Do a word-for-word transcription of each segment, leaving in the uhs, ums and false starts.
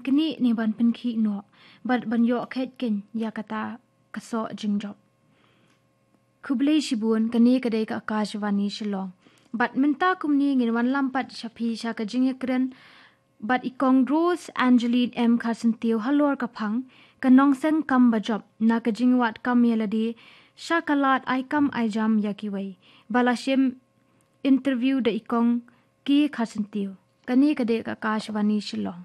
kine ne ban pynkhih noh bad ban ïoh kheit kein ïa kata ka soh jingjop. Khublei shibun, kane ka dei ka Akashvani Shillong. Bad mynta kumne ngin wanlam pat sha phi sha ka jingïakren bad i Kong Rose Angeline M Kharsyntiew halor ka phang, ka nongseng kam ba jop na ka jingwad kam ïa lade sha ka lad ai kam ai jam ïa kiwei. Ba la shim interview da i Kong K Kharsyntiew. Kane ka dei ka Akashvani Shillong.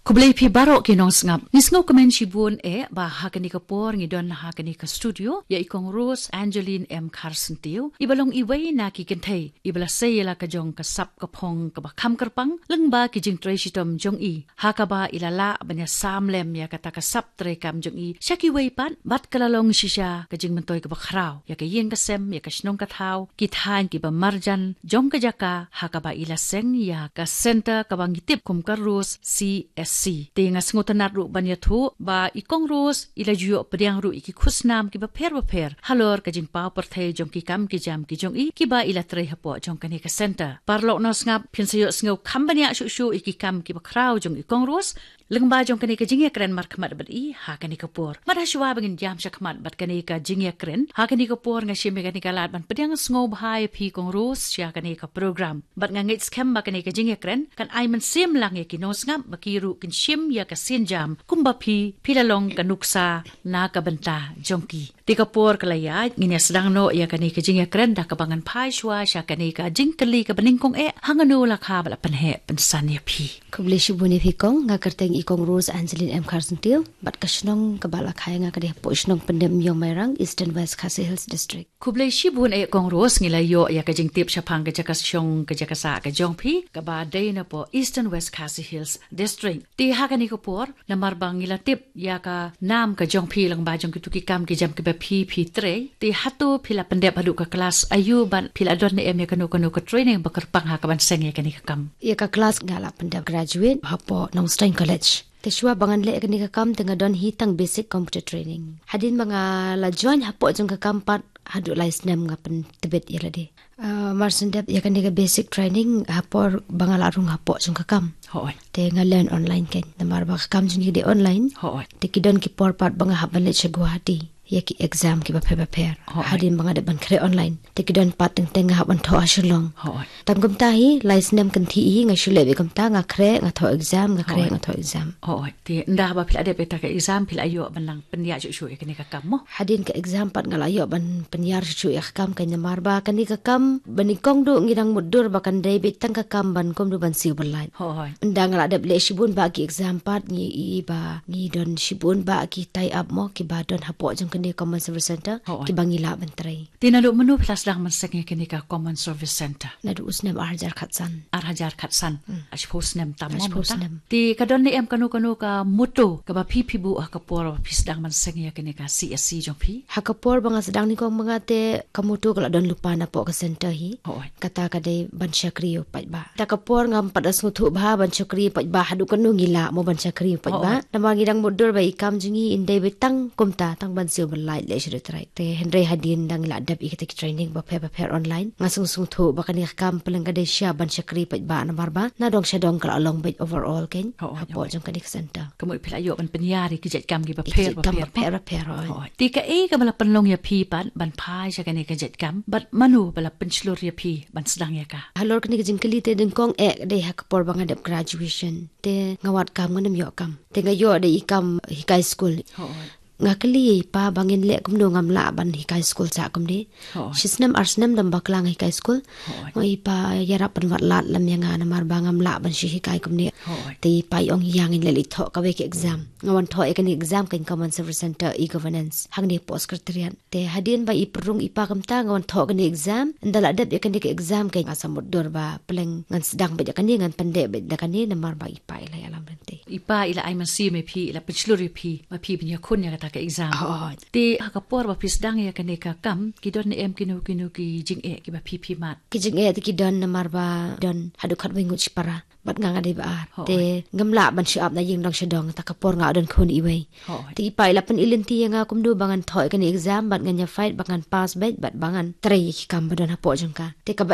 Khublei phi baroh ki nongsngap. Ngi sngewkmen shibun eh ba ha kane ka por ngi don ha kane ka studio ïa i Kong Rose Angeline M Kharsyntiew, iba long iwei na ki kynthei iba la sei ïa la ka jong ka sap ka phong kaba kham kyrpang lyngba ki jingtrei shitom jong i, ha kaba i la lah ban ïasam lem ïa kata ka sap treikam jong i sha kiwei pat, bad ka la long shisha ka jingmyntoi kaba khraw ïa ka ïing ka sem, ïa ka shnong ka thaw, ki thaiñ kiba marjan jong ka jaka ha kaba i la seng ïa ka center kaba ngi tip kum ka Rose C S C. Te nga sngewtynnat ruh ban ïathuh ba i Kong Rose i la ju ïoh pdiang ruh ïa ki khusnam kiba pher ba pher halor ka jingpaw pyrthei jong ki kam ki jam ki jong i kiba i la trei hapoh jong kane ka center. Paralok nongsngap, phin sa ïohsngew kham bniah shuh shuh ïa ki kam kiba khraw jong i Kong Rose lyngba jong kane ka jingïakren markhmat bad i ha kane ka por. Bad hashwa ba ngin jam shakhmat bad kane ka jingïakren, ha kane ka por nga shim ïa kane ka lad ban pdiang sngewbha ïa phi Kong Rose sha kane ka program. Bad nga ngeit skhem ba kane ka jingïakren kan ai mynsiem lang ïa ki nongsngap ba ki ruh kin shim ïa ka sienjam kumba phi, phi la long ka nuksa na ka bynta jong ki. Te ka por ka la ïaid, ngin ïa sdang noh ïa kane ka jingïakren da kaba ngan phai shwa sha kane ka jingkylli kaba nyngkong eh, hangno la kha ba la pynheh pynsan ïa phi. Khublei shibun ïa phi Kong, nga kyrteng i Kong Rose Angeline M Kharsyntiew, bad ka shnong kaba la kha ïa nga ka dei hapoh shnong Pyndep Ïong Mairang, Eastern West Khasi Hills District. Khublei shibun eh Kong Rose, ngi la ïoh ïa ka jingtip shaphang ka jaka shong ka jaka sah ka jong phi kaba dei napoh Eastern West Khasi Hills District. Te ha kane ka por, namar ba ngi la tip ïa ka nam ka jong phi lyngba jong kitu ki kam ki jam kiba phi, phi trei. Te hato phi la pyndep haduh ka klas aiu bad phi la don ne em ïa kano kano ka training ba kyrpang ha kaban seng ïa kane ka kam? Ïa ka klas nga la pyndep graduate hapoh Nongstoiñ College. Te shuwa ba ngan leh ïa kane ka kam te nga don hi tang basic computer training. Hadien ba nga la join hapoh jong ka kam pat haduh lai snem nga pyntbit ïa lade. Ah, mar shen dep ïa kane ka basic training ha por ba nga la rung hapoh jong ka kam. Hooid. Te nga learn online kein. Namar ba ka kam jong ngi ka dei online. Hooid. Te ki don ki por pat ba nga hap ban leit sha Guwahati ïa ki exam kiba pher ba pher. Hooid. Hadien ba nga dep ban khreh online. Te ki don pat teng teng nga hap ban thoh ha Shillong. Hooid. Tang kumta hi, lai snem kynthih hi nga shu leh beit kumta, nga khreh, nga thoh exam, nga khreh, hooid, nga thoh exam. Hooid. Te ynda haba phi la dep ïa kata ka exam phi la ïoh ban nang pynïar shuh shuh ïa kane ka kam mo? Hadien ka exam pat nga la ïoh ban pynïar shuh shuh ïa ka kam kein, namar ba kane ka kam ba nyngkong duh ngi dang mutdur ba kan dei beit tang ka kam ban kumno ban siew ban lait. Hooid. Ynda nga la dep leh shibun bah ki exam pat ngi i ba ngi don shibun bah ki tie up mo kiba don hapoh jong kane ka Common Service Center, hooid, kiba ngi lah ban trei. Te naduh mynno phi la sdang ban seng ïa kane ka Common Service Center? Naduh u snem ar hajar khatsan. Ar hajar khatsan. Hmm. Arphew snem tam mo mynta. Arphew snem. Te ka don ne em kano kano ka motto kaba phi, phi buh ha ka por ba phi sdang ban seng ïa kane ka C S C jong phi? Ha ka por ba nga sdang nyngkong ma nga te ka motto ka la don lypa napoh ka center hi. Hooid. Kata ka dei ban shakri u paidbah. Ta ka por ngam pat da sngewthuh bha ban shakri u paidbah, haduh kano ngi lah mo ban shakri u paidbah. Hooid. Namar ngi dang mutdur ba i kam jong ngi in dei beit tang kumta, tang ban siew ban lait leh sha dei trai. Te hynrei hadien dang la dep ïa kita ki training bapher bapher online, nga sngewthuh ba kane ka kam pynlong ka dei shisha ban shakri paidbah namar ba na dong sha dong ka la long beit overall kein. Hooid, hapoh jong kane ka center. Ka mut phi la ïoh ban pynïar ïa ki jait kam kiba pher bapher. Ki jait kam bapher bapher, hooid. Hooid. Te kaei kaba la pynlong ïa phi pat ban phai sha kane ka jait kam bad mano ba la pynshlur ïa phi ban sdang ïa ka? Halor kane ka jingkylli te nyngkong eh ka dei ha ka por ba nga dep graduation. Te nga wad kam, ngam ïoh kam. Te nga ïoh da i kam hikai skul. Hooid. Nga kylli ïa i pa ba ngin leh kumno, ngam lah ban hikai skul sah kumne. Hooid. Shi snem ar snem dang bakla nga hikai skul. Hooid. Nga ong ïa i pa ïarap pynwad lad lem ïa nga namar ba ngam lah ban shu hikai kumne. Hooid. Te i pa i ong ïa ngin leit thoh kawei ka exam. Nga wan thoh ïa kane ka exam kein, Common Service Center e-Governance hangne hapoh Secretariat. Te hadien ba i pynrung i pa kumta nga wan thoh kane ka exam. Ynda la dep ïa kane ka exam kein nga sa mutdur ba pynlong ngan sdang beit ïa kane, ngan pyndep beit da kane namar ba i pa i la ïalam lynti. I pa i la ai mynsiem ïa phi, i la pynshlur ïa phi ba phi phin ïakhun ïa kata ka exam. Hooid. Te ha ka por ba phi sdang ïa kane ka kam, ki don ne em kino kino ki jingeh kiba phi phi mad? Ki jingeh te ki don namar ba don haduh khatwei ngut shipara. Bad nga nga dei ba ar. Hooid. Te ngam lah ban shu ap na ïing dong sha dong, ta ka por nga don khun iwei. Hooid. Te i pa i la pyn-i lynti ïa nga kumno ba ngan thoh ïa kane exam, bad ngan ïa fight ba ngan pass beit, bad ba ngan trei ïa ki kam ba don hapoh jong ka. Te kaba